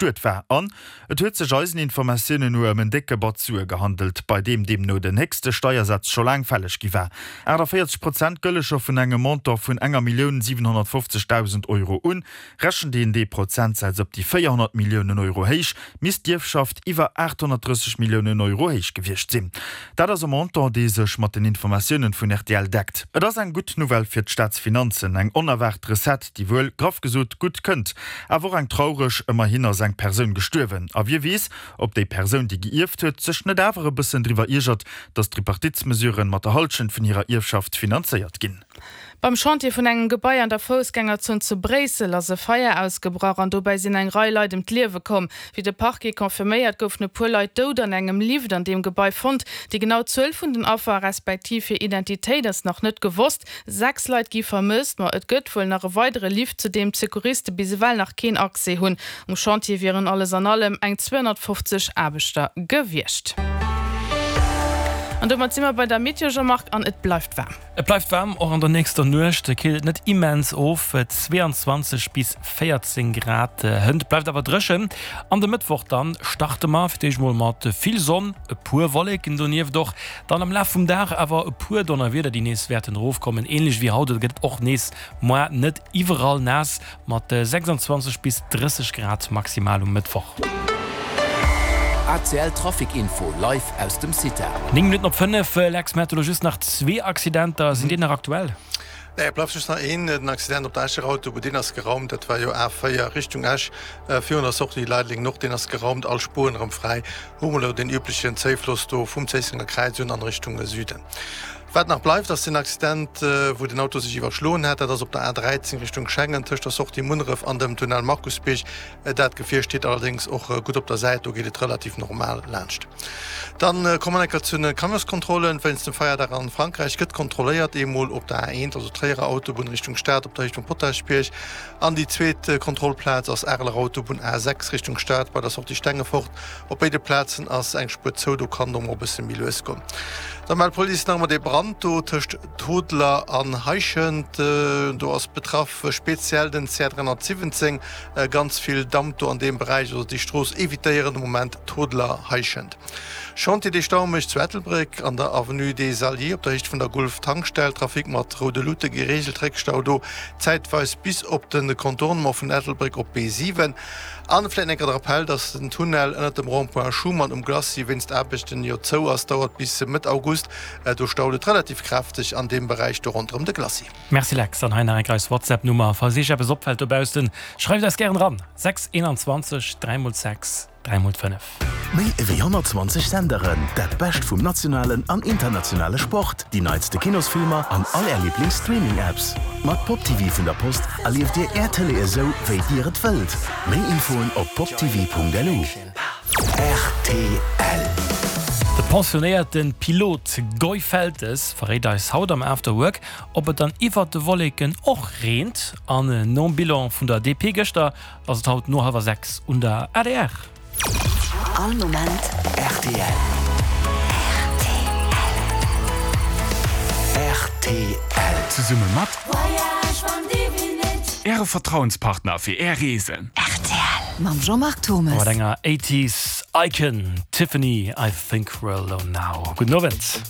Bestuet war an et huet sech eisen Informatiounen no ëm en décke Batz Sue gehandelt, bei deem deemno den héchste Steiersaz scho laang fälleg gi war. 48 Prozent gëlle scho vun engem Montant vun enger Millioun 750.000 Euro un. Rechent een dee Prozentsaz op déi 400 Milliounen Euro héich, misst d'Ierfschaft iwwer 830 Milliounen Euro héich gewiescht sinn. Dat ass e Montant, dee sech mat den Informatiounen vun rtl deckt. Et ass eng gutt Nouvelle fir d'Staatsfinanzen, eng onerwaart Recette, déi wuel, graff gesot, gutt kënnt. Awer och eng traureg, ëmmerhin ass eng Persoun gestuerwen. A wie weess, ob déi Persoun, déi geierft huet, sech net awer e bëssen driwwer iergert, datt d'Tripartitsmesuren mat der Halschent vun hirer Ierfschaft finanzéiert ginn. Beim Chantier vun engem Gebai an der Foussgängerzon zu Bréissel ass e Feier ausgebrach an dobäi sinn eng Rei Leit ëm d'Liewe komm. Wéi de Parquet confirméiert, goufen e puer Leit dout an engem Lift an deem Gebai fonnt. Déi genau Zuel vun den Affer, respektiv hir Identitéit ass nach net gewosst. 6 Leit gi vermësst, ma et gëtt wuel nach e weidere Lift, zu deem d'Secouriste bis ewell nach keen Accès hunn. Um Chantier wieren alles an allem eng 250 Aarbechter gewiescht. An domat si mer bei der Meteo, Jean-Marc, an et bleift waarm. Et bleift waarm, och an der nächster Nuecht killt et net immens of, 22 bis 14 Grad. Hënt bleift awer dréchen an de Mëttwoch dann starte mer fir d'éischt mol mat vill Sonn, e puer Wolleken donieft och. Dann am Laf vum Dag awer e puer Donnerwieder, déi nees wäerten erofkommen. Ähnlech wéi haut gëtt et och nees moar net iwwerall naass, mat 26 bis 30 Grad maximal um Mëttwoch. ACL Trafic Info live aus dem CITA. 9 Minutten op 5, Lex, mir hate lo just nach zwee Accidenter. Sinn déi nach aktuell? Nee, et bleift just nach een, den Accident op der Escher Autobunn, deen ass geraumt. Dat war jo A4 Richtung Esch virun der Sortie Leideleng Nord, deen ass geraumt, all Spueren erëm fräi. Hu mer elo deen üblechen Zéifloss do vum Zéissenger Kräiz un an Richtung Süden. Wat nach bleift, ass den Accident, wou den Auto sech iwwerschloen hat. Dat ass op der A13 Richtung Schengen tëscht der Sortie Munneref an dem Tunnel Markusbierg. Dat Gefier steet allerdéngs och gutt op der Säit, do geet et relativ normal laanscht. Dann komme mer enker zu den Camionskontrollen. Wéinst dem Feierdag an Frankräich gëtt kontrolléiert, eemol op der A1, also Tréierer Autobunn Richtung Stad op der Héicht vum Potaschbierg, an déi zweet Kontrollplaz ass Areler Autobunn A6 Richtung Stad bei der Sortie Stengefort. Op béide Plazen ass eng Spuer zou, do kann et och mol e bësse méi lues goen. Da mellt d'Police nach ëmmer dee Brand do tëscht Toodler an Heischent. Do ass betraff speziell den CR 317. Ganz vill Damp do an deem Beräich, also déi Strooss evitéieren de Moment, Toodler, Heischent. Chantier dee Stau mécht zu Ettelbréck an der Avenue des Alliés op der Héicht vun der Gulf Tankstell. Trafic mat roude Luute gereegelt, Réckstau do zäitweis bis op de Contournement vun Ettelbréck op B7. An vläit enker de Rappell, dass den Tunnel ënnert dem Rond-point Schuman um Glacis wéinst Aarbechten jo zou ass, dauert bis Mëtt August. Do staut et relativ kräfteg an deem Beräich do ronderëm de Glacis. Merci Lex, an hei nach enker eis WhatsApp Nummer, falls iech eppes opfällt dobaussen, schreift eis gären eran, 6 21 3 x 6 3 x 5. Méi ewéi 120 Senderen, dat Bescht vum nationalen an internationale Sport, déi neitste Kinosfilmer an all Är Liiblings-Streaming-Apps. Mat Pop TV vun der Post erlieft Dir Är Tëlee esou, wéi Dir et wëllt. Méi Infoen op poptv.lu. Rtl. De pensionéierte Pilot Guy Feltes verréit eis haut am After Work, ob et dann iwwert de Wolleken och reent. An nom Bilan vun der DP gëschter ass et haut no hallwer 6 un der adr. All Moment rtl. Rtl. Zesumme mat Äre Vertrauenspartner fir Är Reesen. Rtl mam Jean-Marc Thommes. Mat enger Eighties Icon, Tiffany, I Think We're Alone Now. Gudden Owend.